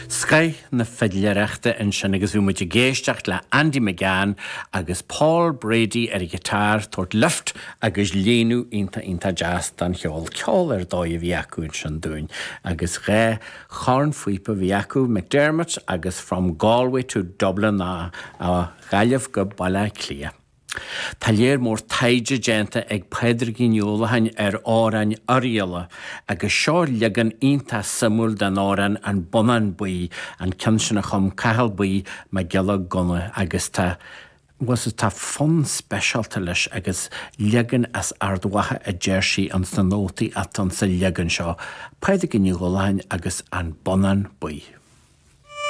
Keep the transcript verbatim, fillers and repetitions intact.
Scoth na fidléireachta ansin agus bhí muid ag éisteacht le Andy McGann agus Paul Brady ar an ghiotár tabhairt lift agus líonadh iontach iontach deas don cheol ceol ar dóigh a bhí acu ansin dúinn agus dhá chornphíopa a bhí acu McDermott agus from Galway to Dublin a, a Ghaillimh go Baile Átha Cliath. Tá léir mór taighde déanta ag Pádraigín Ní Uallacháin ar amhráin Oirialla agus seo leagan iontach suimiúil den amhrán an Bonnán Buí an ceann sin a chum Cathal Buí Mac Giolla Gunna agus tá was tá fonn speisialta leis agus leagan as Ard Mhacha a deir sí an sna nótaí atá sa leagan seo, Pádraigín Ní Uallacháin agus an Bonnán Buí.